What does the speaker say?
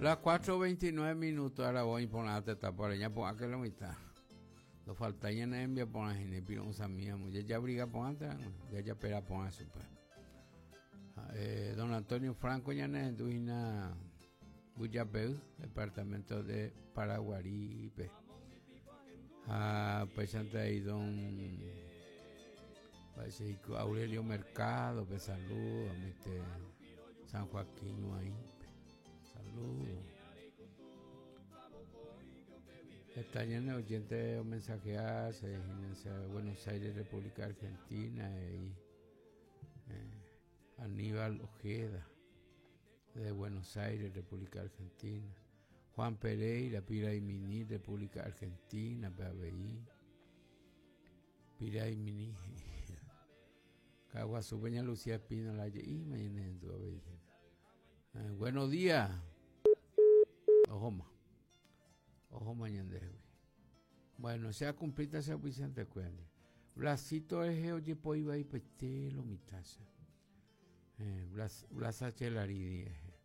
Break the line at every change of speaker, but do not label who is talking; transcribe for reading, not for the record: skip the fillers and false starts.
Las 4.29 minutos aravo iporã tetãpore ñapu'ãke lo mitã. Ndofaltái ñane rembiaporã hína ipiro'ysãmíramo jajabriga porãnte rangue, jajapera porã chupe. Ha'e don Antonio Franco ñanerendu hína Mbujapey, departamento de Paraguarípe. Ha upéichante avei don mba'éicha Aurelio Mercado pe saludo mete San Joaquín Ñuaĩpe. Saludo. Heta ñane oyente omensajea se hína Buenos Aires, República Argentina, he'i eh, Aníbal Ojeda, de Buenos Aires, República Argentina. Juan Pereira, Piraimini, República Argentina, pe avei. Piraimini. Kaguasu Peña Lucía Espínola je'íma ñane avei. Eh, buenos días. Ohóma. Ohóma ñandehegui. Bueno, se ha cumplita se auspiciante kuéra. Blasito rehe ojepoi vaipaite lo mitãcha. Eh, Blas, Blas H. Laridi rehe.